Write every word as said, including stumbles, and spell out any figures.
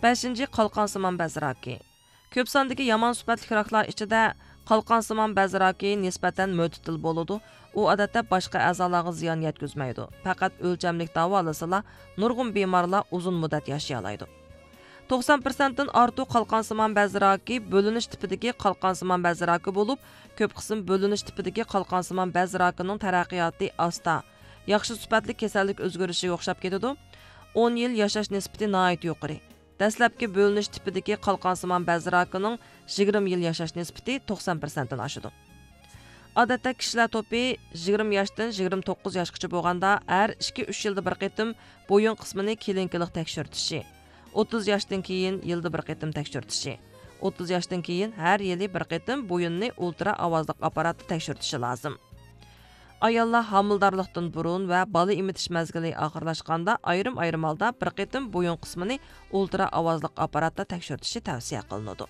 بەشىنچى، قالقانسىمان بەز راكى. كۆپ ساندىكى يامان سۈپەتلىك راكلار ئىچىدە قالقانسىمان بەز راكى نىسبەتەن مۆتىدىل بولىدۇ. ئۇ ئادەتتە باشقا ئەزالارغا زىيان يەتكۈزمەيدۇ. پەقەت ئۆلچەملىك داۋالىسىلا، نۇرغۇن بىمارلار ئۇزۇن مۇددەت ياشىيالايدۇ. توقسان پىرسەنتتىن ئارتۇق قالقانسىمان بەز راكى بۆلۈنۈش تىپىدىكى قالقانسىمان بەز راكى بولۇپ، كۆپ قىسىم بۆلۈنۈش تىپىدىكى قالقانسىمان بەز راكىنىڭ تەرەققىياتى ئاستا، ياخشى سۈپەتلىك كېسەللىك ئۆزگىرىشىگە ئوخشاپ كېتىدۇ. ئون يىل ياشاش نىسبىتى ناھايىتى يۇقىرى. دەسلەپكى بۆلۈنۈش تىپىدىكى قالقانسىمان بەز راكىنىڭ يىگىرمە يىل ياشاش نىسبىتى توقسان پىرسەنتتىن ئاشىدۇ. ئادەتتە كىشىلەر توپى يىگىرمە ياشتىن يىگىرمە توققۇز ياشقىچە بولغاندا، ھەر ئىككى، ئۈچ يىلدا بىر قېتىم بويۇن قىسمىنى كلىنىكىلىق تەكشۈرتۈشى، ئوتتۇز ياشتىن كېيىن يىلدا بىر قېتىم تەكشۈرتۈشى، ئوتتۇز ياشتىن كېيىن ھەر يىلى بىر قېتىم بويۇننى ئۇلترا ئاۋازلىق ئاپپاراتتا تەكشۈرتۈشى لازىم. ئاياللار ھامىلىدارلىقتىن بۇرۇن ۋە بالا ئېمىتىش مەزگىلى ئاخىرلاشقاندا ئايرىم-ئايرىم ھالدا بىر قېتىم بويۇن قىسمىنى ئۇلترا ئاۋازلىق ئاپپاراتتا تەكشۈرتۈشى تەۋسىيە قىلىنىدۇ.